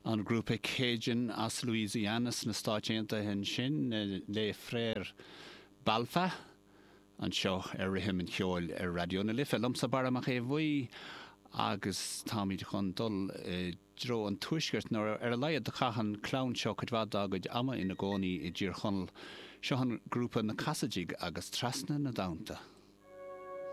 An grúpa Cajun as Louisiana sna Stáit Aontaithe ansin, Les Frères Balfa, anseo ar Rithim an Cheoil ar Raidió na Life. Liomsa Barra Mac Aodha Bhuí agus táimid chun dul i dtreo an tuaiscirt, nó ar a laghad chaith an clann seo cuid mhaith dá gcuid ama ina gcónaí i dTír Chonaill. Seo an grúpa Na Casaidigh agus Trasna na dTonnta.